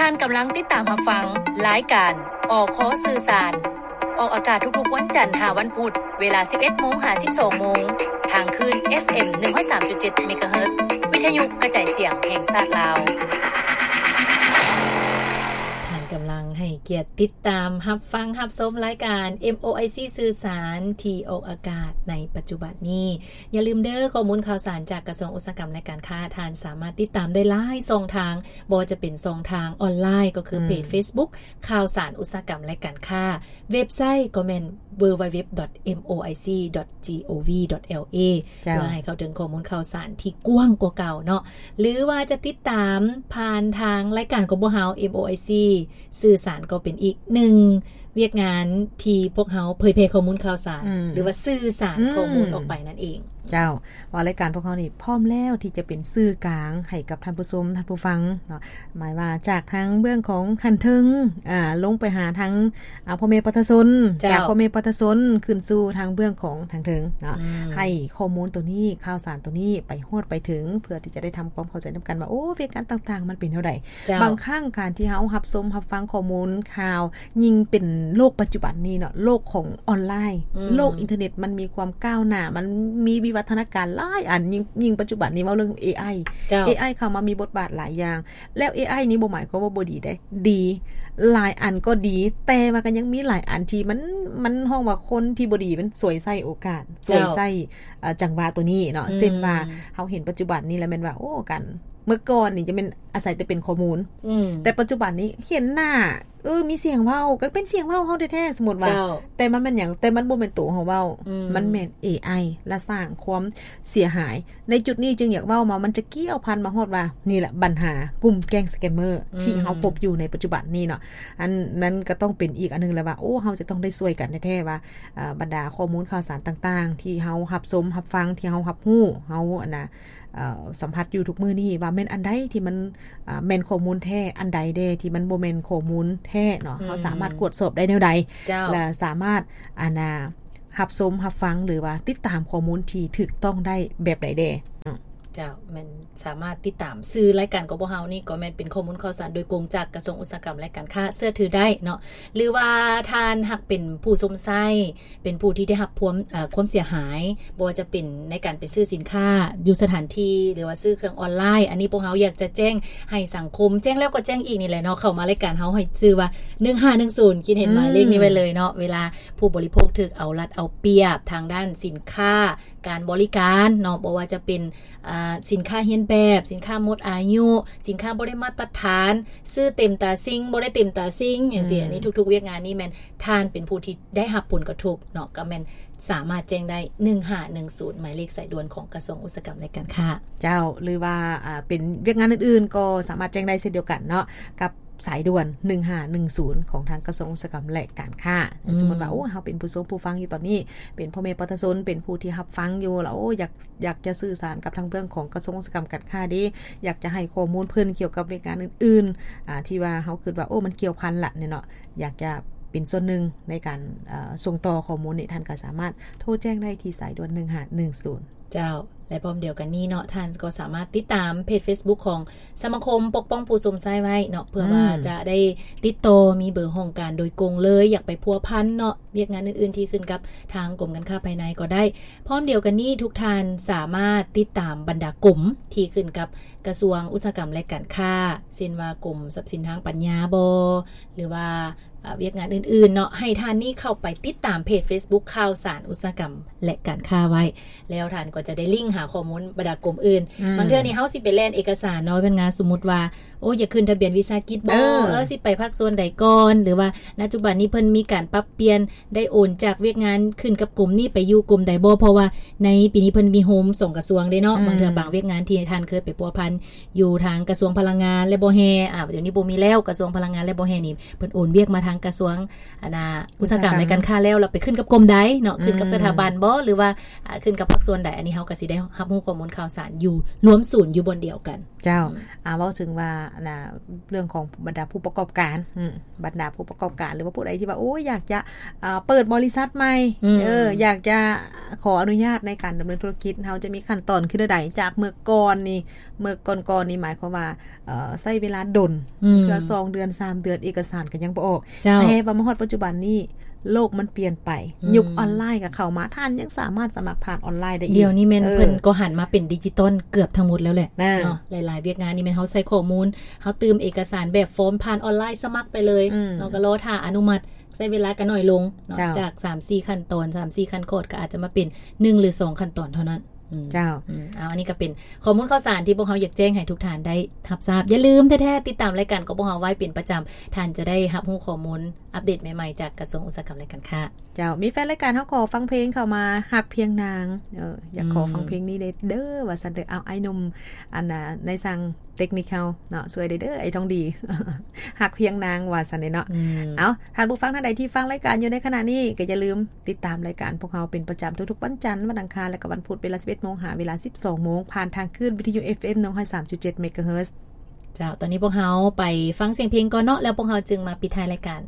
ທ່ານກຳລັງຕິດຕາມຮັບຟັງລາຍການ ອຄ ສື່ສານ ອອກອາກາດທຸກໆວັນຈັນຫາວັນພຸດ ເວລາສິບເອັດໂມງຫາສິບສອງໂມງ ທາງຄື້ນ ເອັຟເອັມ ໜຶ່ງຮ້ອຍສາມຈຸດເຈັດ ເມກາເຮີດ ວິທະຍຸກະຈາຍສຽງແຫ່ງຊາດລາວ. ທ່ານກຳລັງໃຫ້ກຽດຕິດຕາມຮັບຟັງຮັບຊົມລາຍການ ເອັມໂອໄອຊີ ສື່ສານ ທີ່ອອກອາກາດໃນປັດຈຸບັນນີ້. ຢ່າລືມເດີ້ ຂໍ້ມູນຂ່າວສານຈາກກະຊວງອຸດສາຫະກຳ ແລະ ການຄ້າ ທ່ານສາມາດຕິດຕາມໄດ້ຫຼາຍຊ່ອງທາງ, ບໍ່ວ່າຈະເປັນຊ່ອງທາງອອນລາຍ ກໍຄືເພຈ ເຟສບຸກ ຂ່າວສານອຸດສາຫະກຳ ແລະ ການຄ້າ, ເວັບໄຊກໍແມ່ນ ເວີເວັບເວັບ ດອດ ເອັມໂອໄອຊີ ດອດ ຈີໂອວີ ດອດ ແອລເອ ເພື່ອໃຫ້ເຂົ້າເຖິງຂໍ້ມູນຂ່າວສານທີ່ກວ້າງກວ່າເກົ່າເນາະ ຫຼືວ່າຈະຕິດຕາມຜ່ານທາງລາຍການຂອງພວກເຮົາ ເອັມໂອໄອຊີ ສື່ສານ ກໍເປັນອີກໜຶ່ງວຽກງານທີ່ພວກເຮົາເຜີຍແຜ່ຂໍ້ມູນຂ່າວສານ ຫຼືວ່າສື່ສານຂໍ້ມູນອອກໄປນັ້ນເອງ. ເຈົ້າ ວ່າລາຍການພວກເຮົານີ້ພ້ອມແລ້ວທີ່ຈະເປັນສື່ກາງໃຫ້ກັບທ່ານຜູ້ຊົມ ທ່ານຜູ້ຟັງເນາະ ໝາຍວ່າຈາກທາງເບື້ອງຂອງຂັ້ນເທິງ ອາ ລົງໄປຫາທາງ ອາ ພໍ່ແມ່ປະຊາຊົນ ຈາກພໍ່ແມ່ປະຊາຊົນຂຶ້ນສູ່ທາງເບື້ອງຂອງທາງເທິງເນາະ ໃຫ້ຂໍ້ມູນໂຕນີ້ ຂ່າວສານໂຕນີ້ໄປຮອດໄປເຖິງ ເພື່ອທີ່ຈະໄດ້ທຳຄວາມເຂົ້າໃຈນຳກັນວ່າ ໂອ້ ວຽກງານຕ່າງໆມັນເປັນແນວໃດ. ບາງຄັ້ງການທີ່ເຮົາຮັບຊົມຮັບຟັງຂໍ້ມູນຂ່າວ ຍິ່ງເປັນໂລກປັດຈຸບັນນີ້ເນາະ ໂລກຂອງອອນລາຍ ໂລກອິນເຕີເນັດ ມັນມີຄວາມກ້າວໜ້າ ມັນມີວິວັດທະນາການຫຼາຍອັນ ຍິ່ງ ຍິ່ງປັດຈຸບັນນີ້ເວົ້າເລື່ອງເອໄອ ເອໄອເຂົ້າມາມີບົດບາດຫຼາຍຢ່າງ ແລ້ວເອໄອນີ້ບໍ່ໝາຍຄວາມວ່າບໍ່ດີເດ້ ດີ ຫຼາຍອັນກໍດີ ແຕ່ວ່າກໍຍັງມີຫຼາຍອັນທີ່ມັນ ມັນຮ້ອງວ່າຄົນທີ່ບໍ່ດີມັນສວຍໃຊ້ໂອກາດ ສວຍໃຊ້ ເອີ ຈັງຫວະໂຕນີ້ເນາະ ເຊັ່ນວ່າ ເຮົາເຫັນປັດຈຸບັນນີ້ແລ້ວແມ່ນວ່າ ໂອ້ ການ ເມື່ອກ່ອນນີ້ຈະແມ່ນອາໄສແຕ່ເປັນຂໍ້ມູນ ແຕ່ປັດຈຸບັນນີ້ເຫັນໜ້າ ເອີ ມີສຽງເວົ້າ ກໍເປັນສຽງເວົ້າເຮົາແທ້ໆ ສົມມຸດວ່າ ແຕ່ມັນແມ່ນຫຍັງ ແຕ່ມັນບໍ່ແມ່ນໂຕເຮົາເວົ້າ ມັນແມ່ນເອໄອ ລະສ້າງຄວາມເສຍຫາຍ. ໃນຈຸດນີ້ຈຶ່ງຢາກເວົ້າມາ ມັນຈະກ່ຽວພັນມາຮອດວ່າ ນີ້ແຫຼະບັນຫາກຸ່ມແກ້ງສະແກມເມີ ທີ່ເຮົາພົບຢູ່ໃນປັດຈຸບັນນີ້ເນາະ ອັນນັ້ນກໍຕ້ອງເປັນອີກອັນໜຶ່ງແຫຼະວ່າ ໂອ້ ເຮົາຈະຕ້ອງໄດ້ຊ່ວຍກັນແທ້ໆວ່າ ອາ ບັນດາຂໍ້ມູນຂ່າວສານຕ່າງໆ ທີ່ເຮົາຮັບຊົມຮັບຟັງ ທີ່ເຮົາຮັບຮູ້ ເຮົາ ອັນນະ ເອີ ສຳຜັດຢູ່ທຸກມື້ນີ້ວ່າແມ່ນອັນໃດທີ່ມັນ ອາ ແມ່ນຂໍ້ມູນແທ້ ອັນໃດແດ່ທີ່ມັນບໍ່ແມ່ນຂໍ້ມູນແທ້ເນາະ ເຮົາສາມາດກວດສອບໄດ້ແນວໃດ ແລະ ສາມາດ ອັນນະ ຮັບຊົມຮັບຟັງ ຫຼືວ່າຕິດຕາມຂໍ້ມູນທີ່ຖືກຕ້ອງໄດ້ແບບໃດແດ່ເນາະ. ເຈົ້າ ແມ່ນສາມາດຕິດຕາມ ຊື່ລາຍການຂອງພວກເຮົານີ້ກໍແມ່ນເປັນຂໍ້ມູນຂ່າວສານໂດຍກົງຈາກກະຊວງອຸດສາຫະກຳ ແລະ ການຄ້າ ເຊື່ອຖືໄດ້ເນາະ ຫຼືວ່າທ່ານຫາກເປັນຜູ້ຊົມໃຊ້ ເປັນຜູ້ທີ່ໄດ້ຮັບຄວາມ ເອີ ຄວາມເສຍຫາຍ ບໍ່ວ່າຈະເປັນໃນການໄປຊື້ສິນຄ້າຢູ່ສະຖານທີ່ ຫຼືວ່າຊື້ເຄື່ອງອອນລາຍ ອັນນີ້ພວກເຮົາຢາກຈະແຈ້ງໃຫ້ສັງຄົມ ແຈ້ງແລ້ວກໍແຈ້ງອີກນີ້ແຫຼະເນາະ ເຂົ້າມາລາຍການເຮົາໃຫ້ຊື່ວ່າ ໜຶ່ງຫ້າໜຶ່ງສູນ ຂີດເຫັນໝາຍເລກນີ້ໄວ້ເລີຍເນາະ ເວລາຜູ້ບໍລິໂພກຖືກເອົາລັດເອົາປຽບທາງດ້ານສິນຄ້າ ການບໍລິການເນາະ ບໍ່ວ່າຈະເປັນ ອາ ສິນຄ້າຮຽນແບບ ສິນຄ້າໝົດອາຍຸ ສິນຄ້າບໍ່ໄດ້ມາດຕະຖານ ຊື້ເຕັມຕາສິ່ງ ບໍ່ໄດ້ເຕັມຕາສິ່ງ ຈັ່ງຊີ້ ອັນນີ້ທຸກໆວຽກງານນີ້ແມ່ນທ່ານເປັນຜູ້ທີ່ໄດ້ຮັບຜົນກະທົບເນາະ ກໍແມ່ນສາມາດແຈ້ງໄດ້ ໜຶ່ງຫ້າໜຶ່ງສູນ ໝາຍເລກສາຍດ່ວນຂອງກະຊວງອຸດສາຫະກຳ ແລະ ການຄ້າ. ເຈົ້າ ຫຼືວ່າ ອາ ເປັນວຽກງານອື່ນໆ ກໍສາມາດແຈ້ງໄດ້ເຊັ່ນດຽວກັນເນາະ ກັບ ສາຍດ່ວນ ໜຶ່ງຫ້າໜຶ່ງສູນ ຂອງທາງກະຊວງອຸດສາຫະກຳ ແລະ ການຄ້າ. ສົມມຸດວ່າ ໂອ້ ເຮົາເປັນຜູ້ຊົມຜູ້ຟັງຢູ່ຕອນນີ້ ເປັນພໍ່ແມ່ປະຊາຊົນ ເປັນຜູ້ທີ່ຮັບຟັງຢູ່ ແລ້ວ ໂອ້ ຢາກ ຢາກຈະສື່ສານກັບທາງເບື້ອງຂອງກະຊວງອຸດສາຫະກຳ ການຄ້າເດ້ ຢາກຈະໃຫ້ຂໍ້ມູນເພິ່ນກ່ຽວກັບວຽກງານອື່ນໆ ອາ ທີ່ວ່າເຮົາຄິດວ່າ ໂອ້ ມັນກ່ຽວພັນລະນີ້ເນາະ ຢາກຈະເປັນສ່ວນໜຶ່ງໃນການ ເອີ ສົ່ງຕໍ່ຂໍ້ມູນນີ້ ທ່ານກໍສາມາດໂທແຈ້ງໄດ້ທີ່ສາຍດ່ວນ ໜຶ່ງຫ້າໜຶ່ງສູນ. ເຈົ້າ ແລະ ພ້ອມດຽວກັນນີ້ເນາະ ທ່ານກໍສາມາດຕິດຕາມເພຈເຟສບຸກຂອງສະມາຄົມປົກປ້ອງຜູ້ຊົມໃຊ້ໄວ້ເນາະ ເພື່ອວ່າຈະໄດ້ຕິດຕໍ່ ມີເບີຫ້ອງການໂດຍກົງເລີຍ ຢາກໄປພົວພັນເນາະ ວຽກງານອື່ນໆທີ່ຂຶ້ນກັບທາງກົມການຄ້າພາຍໃນກໍໄດ້. ພ້ອມດຽວກັນນີ້ ທຸກທ່ານສາມາດຕິດຕາມບັນດາກົມທີ່ຂຶ້ນກັບກະຊວງອຸດສາຫະກຳ ແລະ ການຄ້າ ເຊັ່ນວ່າກົມຊັບສິນທາງປັນຍາບໍ ຫຼືວ່າ ອາ ວຽກງານອື່ນໆເນາະ ໃຫ້ທ່ານນີ້ເຂົ້າໄປຕິດຕາມເພຈເຟສບຸກຂ່າວສານອຸດສາຫະກຳ ແລະ ການຄ້າໄວ້ ແລ້ວທ່ານກໍຈະໄດ້ລິ້ງຫາຂໍ້ມູນບັນດາກົມອື່ນ. ບາງເທື່ອນີ້ເຮົາຊິໄປແລ່ນເອກະສານເນາະ ເປັນງານ ສົມມຸດວ່າ ໂອ້ ຢາກຂຶ້ນທະບຽນວິສາຫະກິດບໍ ເອີ ຊິໄປພາກສ່ວນໃດກ່ອນ ຫຼືວ່າປັດຈຸບັນນີ້ເພິ່ນມີການປັບປ່ຽນ ໄດ້ໂອນຈາກວຽກງານຂຶ້ນກັບກົມນີ້ໄປຢູ່ກົມໃດບໍ ເພາະວ່າໃນປີນີ້ເພິ່ນມີໂຮມສອງກະຊວງເດ້ເນາະ. ບາງເທື່ອບາງວຽກງານທີ່ທ່ານເຄີຍໄປພົວພັນ ຢູ່ທາງກະຊວງພະລັງງານ ແລະ ບໍ່ແຮ່ ອາ ດຽວນີ້ບໍ່ມີແລ້ວ ກະຊວງພະລັງງານ ແລະ ບໍ່ແຮ່ນີ້ ເພິ່ນໂອນວຽກມາທາງກະຊວງ ອັນນາ ອຸດສາຫະກຳ ແລະ ການຄ້າແລ້ວ ແລ້ວໄປຂຶ້ນກັບກົມໃດເນາະ ຂຶ້ນກັບສະຖາບັນບໍ ຫຼືວ່າ ອາ ຂຶ້ນກັບພາກສ່ວນໃດ ອັນ ນີ້ເຮົາກໍຊິໄດ້ຮັບຮູ້ຂໍ້ມູນຂ່າວສານຢູ່ລວມສູນຢູ່ບ່ອນດຽວກັນ. ເຈົ້າ ອືມ ອ່າ ເວົ້າເຖິງວ່າ ອ່າ ເລື່ອງຂອງບັນດາຜູ້ປະກອບການ ອືມ ບັນດາຜູ້ປະກອບການ ຫຼືວ່າຜູ້ໃດທີ່ວ່າ ໂອ້ຍ ຢາກຈະ ອ່າ ເປີດບໍລິສັດໃໝ່ ອືມ ເອີ ຢາກຈະຂໍອະນຸຍາດໃນການດຳເນີນທຸລະກິດ ເຮົາຈະມີຂັ້ນຕອນຄືແນວໃດ? ຈາກເມື່ອກ່ອນນີ້ ເມື່ອກ່ອນໆນີ້ ໝາຍຄວາມວ່າ ເອີ ໃຊ້ເວລາດົນ ອືມ ເທື່ອສອງເດືອນ ສາມເດືອນ ເອກະສານກໍຍັງບໍ່ອອກ. ເຈົ້າ ແຕ່ວ່າມາຮອດປັດຈຸບັນນີ້ ໂລກມັນປ່ຽນໄປ ອືມ ຍຸກອອນລາຍກໍເຂົ້າມາ ທ່ານຍັງສາມາດສະໝັກຜ່ານອອນລາຍໄດ້ອີກ. ດຽວນີ້ແມ່ນ ເອີ ເພິ່ນກໍຫັນມາເປັນດິຈິຕອນເກືອບທັງໝົດແລ້ວແຫຼະ ນະ ເນາະ. ຫຼາຍໆວຽກງານນີ້ແມ່ນເຮົາໃສ່ຂໍ້ມູນ ເຮົາຕື່ມເອກະສານແບບຟອມຜ່ານອອນລາຍສະໝັກໄປເລີຍ ອືມ ເຮົາກໍລໍຖ້າອະນຸມັດ ໃຊ້ເວລາກໍໜ້ອຍລົງເນາະ. ເຈົ້າ ຈາກສາມສີ່ຂັ້ນຕອນ ສາມສີ່ຂັ້ນຕອນ ກໍອາດຈະມາເປັນໜຶ່ງ ຫຼື ສອງຂັ້ນຕອນເທົ່ານັ້ນ. ອືມ ເຈົ້າ ອືມ ເອົາ ອັນນີ້ກໍເປັນຂໍ້ມູນຂ່າວສານທີ່ພວກເຮົາຢາກແຈ້ງໃຫ້ທຸກທ່ານໄດ້ຮັບຊາບ. ຢ່າລືມແທ້ໆ ຕິດຕາມລາຍການຂອງພວກເຮົາໄວ້ເປັນປະຈຳ ທ່ານຈະໄດ້ຮັບຮູ້ຂໍ້ມູນອັບເດດໃໝ່ໆ ຈາກກະຊວງອຸດສາຫະກຳ ແລະ ການຄ້າ. ເຈົ້າ ມີແຟນລາຍການເຮົາຂໍຟັງເພງເຂົ້າມາ ຮັກພຽງນາງ ເອີ ຢາກຂໍ ອືມ ຟັງເພງນີ້ເດີ ເດີ ວ່າຊັ້ນເດີ. ເອົາ ອ້າຍໜຸ່ມ ອັນນ່າ ນາຍຊ່າງເຕັກນິກເຮົາເນາະ ຊ່ວຍເດີ ເດີ ໄອ້ທອງດີ ຮັກພຽງນາງ ວ່າຊັ້ນເດເນາະ. ອືມ ເອົາ ທ່ານຜູ້ຟັງທ່ານໃດທີ່ຟັງລາຍການຢູ່ໃນຂະນະນີ້ ກໍຢ່າລືມຕິດຕາມລາຍການພວກເຮົາເປັນປະຈຳທຸກໆວັນຈັນ, ວັນອັງຄານ ແລະ ກໍວັນພຸດ ເວລາສິບເອັດໂມງ ຫາເວລາສິບສອງໂມງ ຜ່ານທາງຄື້ນວິທະຍຸ ເອັຟເອັມ ໜຶ່ງຮ້ອຍສາມຈຸດເຈັດ ເມກາເຮີດ. ເຈົ້າ ຕອນນີ້ພວກເຮົາໄປຟັງສຽງເພງກ່ອນເນາະ ແລ້ວພວກເຮົາຈຶ່ງມາປິດທ້າຍລາຍການ.